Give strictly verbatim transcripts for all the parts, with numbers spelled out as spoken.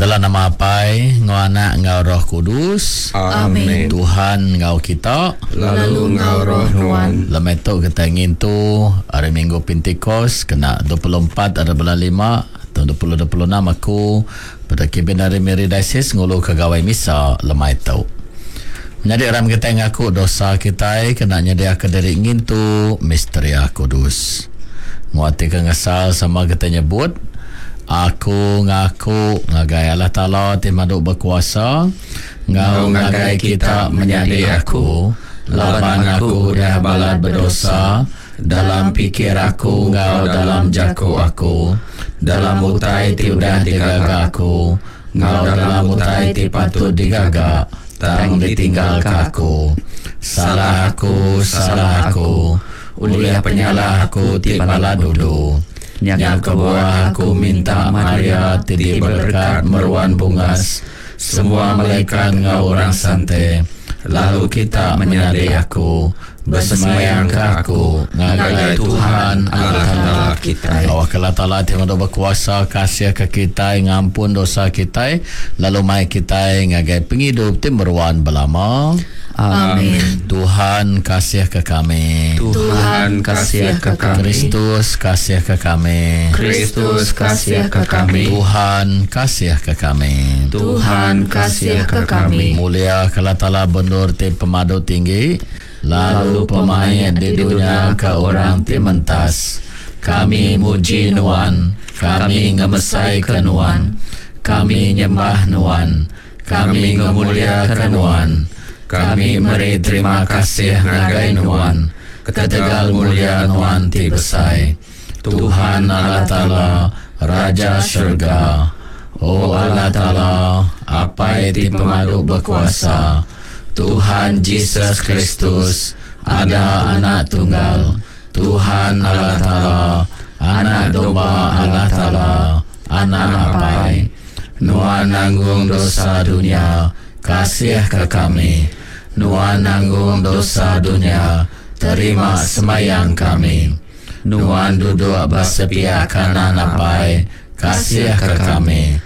Dalam nama Apai, enggau Anak, enggau Roh Kudus. Amin. Tuhan enggau kita. Lalu enggau roh nuan. Lemai tu kita ngintu hari Minggu Pentikos kena dua puluh empat hari bulan lima tahun dua ribu dua puluh enam aku pada kibin dari Miri Diocese ngulu ke gawai misa lemai tu. Menyadi ram kita ngaku dosa kita kena nyediaka diri ngintu misteria kudus. Nguati ke ngesal sama kita nyebut aku ngaku ngagai Allah Taala ti madu berkuasa ngau ngagai kita menyadi aku laban aku udah balat berdosa dalam pikir aku ngau dalam jaku aku dalam utai ti udah digaga aku ngau dalam utai ti patut digaga tang ditinggalka aku. Salah aku, salah aku, ulih penyalah aku ti balat dulu. Nya kebuah aku minta Maria ti diberkat meruan bungas, semua malaikat ngau orang sante, lalu kita menyadi aku, bersemayang ke aku, ngagai Tuhan Allah Taala kita. Allah Taala ti madu berkuasa kasih ke kita, ngampun dosa kita, lalu mai kita ngagai penghidup ti meruan belama. Amin. Tuhan kasih ke kami. Tuhan kasih ke kami. Kristus kasih ke kami. Kristus kasih ke kami. Tuhan kasih ke kami. Tuhan kasih ke kami. Mulia ke Allah Taala bendur ti pemadu tinggi, lalu pemain di dunia ke orang ti mentas. Kami muji nuan, kami ngemesai ke nuan, kami nyembah nuan, kami ngemulia ke nuan. Kami meri terima kasih ngagai nuan, ketegal mulia nuan ti besai. Tuhan Allah Taala, Raja Syurga. O Allah Taala, Apai ti pemadu berkuasa, Tuhan Jesus Kristus, ada anak tunggal, Tuhan Allah Taala, anak domba Allah Taala, anak Apai. Nuan nanggung dosa dunia, kasih ke kami. Nuan nanggung dosa dunia, terima semayang kami. Nuan duduk bersepiak kanan Apai, kasih ke kami.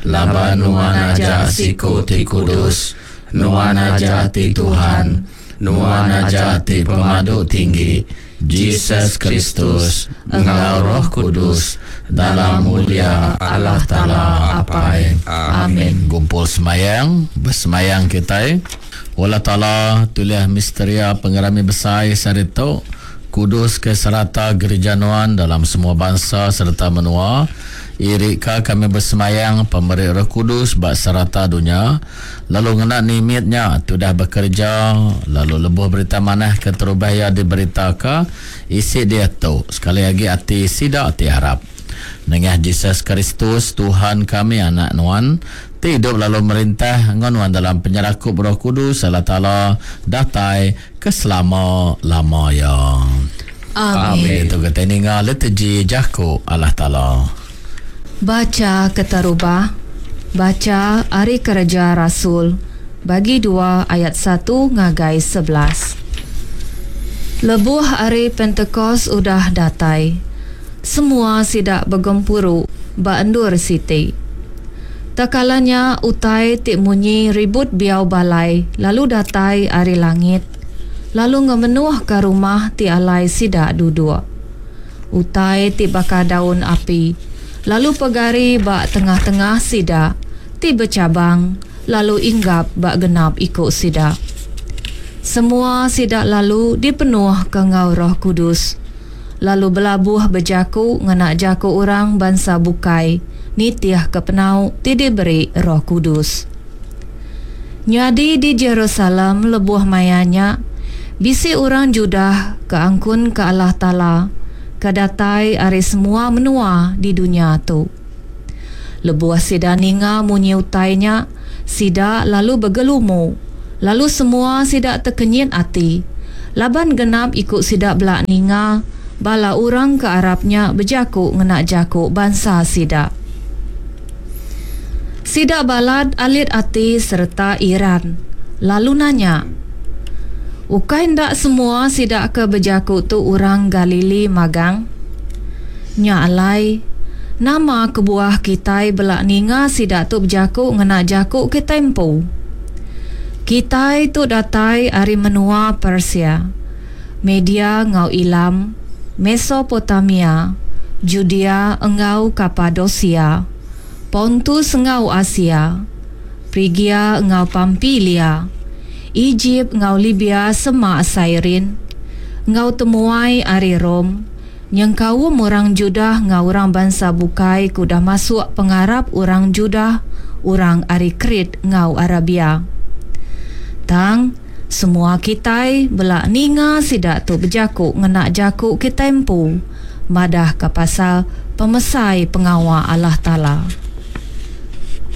Laban nuan aja siku ti kudus, nuan aja ti Tuhan, nuan aja ti pemadu tinggi, Jesus Kristus, enggau Roh Kudus, dalam mulia Allah Taala Apai. Amin. Gumpul semayang, bersemayang kita. Allah Taala tuliah misteria pengerami besar sehari tu, kudus ke serata gereja nuan dalam semua bangsa serta menua. Irika kami bersemayang pemberi Roh Kudus bak serata dunia, lalu ngena nimitnya sudah bekerja, lalu lebuh berita manah ke terubah ia diberitaka isi dia tu sekali lagi ati sida ti harap. Nengah Jesus Kristus Tuhan kami anak nuan ti hidup lalu merintah enggau nuan dalam penyerakup Roh Kudus Allah Taala datai ke selama-lama ya. Amin. Itu kita ninga liturgi jaku Allah Taala. Baca keterubah, baca Hari Kerja Rasul bagi dua ayat satu ngagai sebelas. Lebuh hari Pentecost udah datai, semua sidak begempuru ba endur siti. Tekalanya utai ti munyi ribut biau balai lalu datai ari langit, lalu ngemenuh ke rumah ti alai sidak duduk. Utai ti baka daun api lalu pegari ba tengah-tengah sidak ti bercabang lalu inggap ba genap ikut sidak. Semua sidak lalu dipenuh ke ngau Roh Kudus, lalu belabuh berjaku ngena jaku orang bangsa bukai nitiah ke penau ti diberi Roh Kudus. Nyadi di Jerusalem lebuh mayanya bisi orang Judah ke angkun ke Allah Taala ke datai ari semua menua di dunia tu. Lebuh sida ninga munyi utainya, sida lalu bergelumu, lalu semua sida terkenyit ati, laban genap ikut sida belak ninga bala orang ke Arabnya berjaku ngena jaku bangsa sida. Sida balad alit ati serta iran, lalu nanya, ukai ndak semua sida ke berjaku tu orang Galili magang? Nya alai, Nama kebuah kitai bela ninga sida tu bejaku ngena jaku kitai empu? Kitai tu datai ari menua Persia, Media enggau Elam, Mesopotamia, Judea enggau Kapadosia, Pontus enggau Asia, Prigia enggau Pampilia, Ejip enggau Libia semak Sairin, enggau temuai ari Rome, nyengkaum orang Judah enggau orang bansa bukai ke udah masuk pengarap orang Judah, orang ari Krit enggau Arabia. Tang, semua kitai bela ninga sida tu bejaku ngena jaku kitai empu, madahka pasal pemesai pengawa Allah Taala.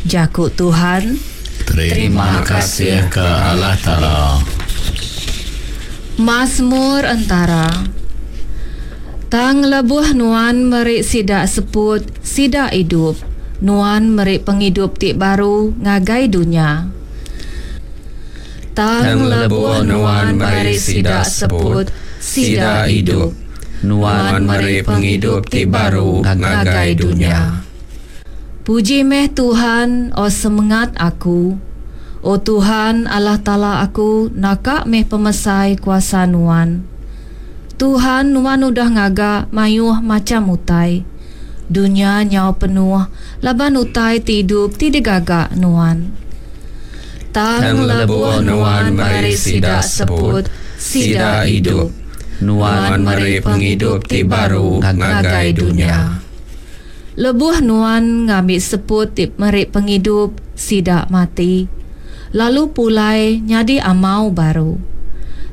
Jaku Tuhan. Terima kasih ke Allah Taala. Mazmur entara. Tang lebuh nuan meri sida seput, sida idup. Nuan meri pengidup ti baru ngagai dunya. Tang lebuh nuan meri sida seput, sida idup. Nuan meri pengidup ti baru ngagai dunya. Puji meh Tuhan, o semengat aku. O Tuhan Allah Taala aku, naka meh pemesai kuasa Nuan. Tuhan, Nuan udah ngaga mayuh macham utai. Dunya nyau penuh laban utai ti idup ti digaga Nuan. Tang lebuh Nuan meri sida seput, sida idup. Nuan meri pengidup ti baru ngagai dunya. Lebuh Nuan ngambi seput ti meri pengidup, sida mati, lalu pulai nyadi amau baru.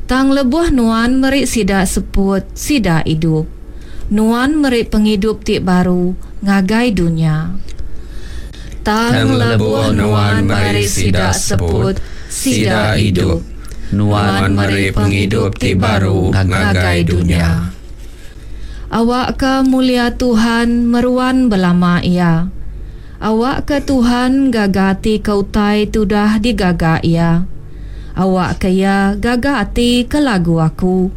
Tang lebuh Nuan meri sida seput, sida idup. Nuan meri pengidup ti baru ngagai dunya. Tang lebuh Nuan meri sida seput, sida idup. Nuan meri pengidup ti baru ngagai dunya. Awakka mulia Tuhan meruan belama iya. Awakka Tuhan gaga ati ke utai ti udah digaga Iya. Awakka Iya gaga ati ke lagu aku,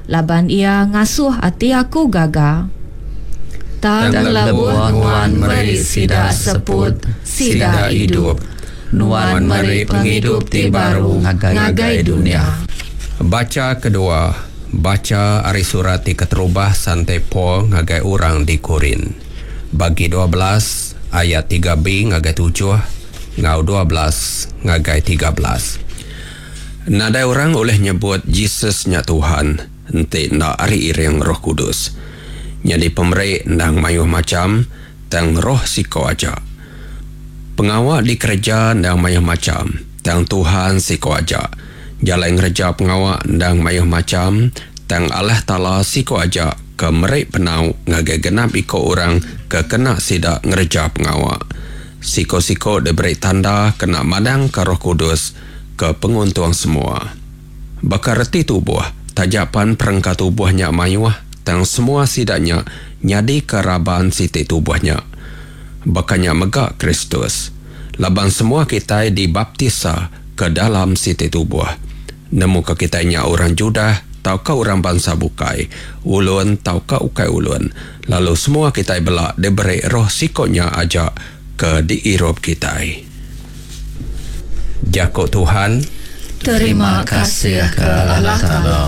laban Iya ngasuh ati aku gaga. Tang lebuh Nuan meri sida seput, sida idup. Nuan meri pengidup ti baru ngagai dunya. Bacha kedua. Bacha ari surat ti keterubah Sante Paul ngagai orang di Korint. Bagi dua belas ayat tiga B ngagai tujuh enggau dua belas ngagai tiga belas. Nadai orang ulih nyebut Jesus nya Tuhan enti enda ari iring Roh Kudus. Nyadi pemeri endang mayuh macham tang roh siko aja. Pengawa dikereja endang mayuh macham tang Tuhan siko aja. Jalai ngereja pengawa endang mayuh macham tang Allah Taala siko aja ke meri penau ngagai genap iko orang ke kena sida ngereja pengawa. Siko-siko diberi tanda kena madang ke Roh Kudus ke penguntung semua. Baka reti tubuh, tajapan perengka tubuhnya mayuh, tang semua sidanya nyadi ke raban siti tubuhnya. Bakanya mega Kristus. Laban semua kitai dibaptisa ke dalam siti tubuh. Nemu ke kitai nya orang Judah tauka orang bangsa bukai, ulun tauka ukai ulun. Lalu semua kitai bela diberi roh sikonya aja ke diirup kitai. Jaku Tuhan. Terima kasih ke Allah Taala.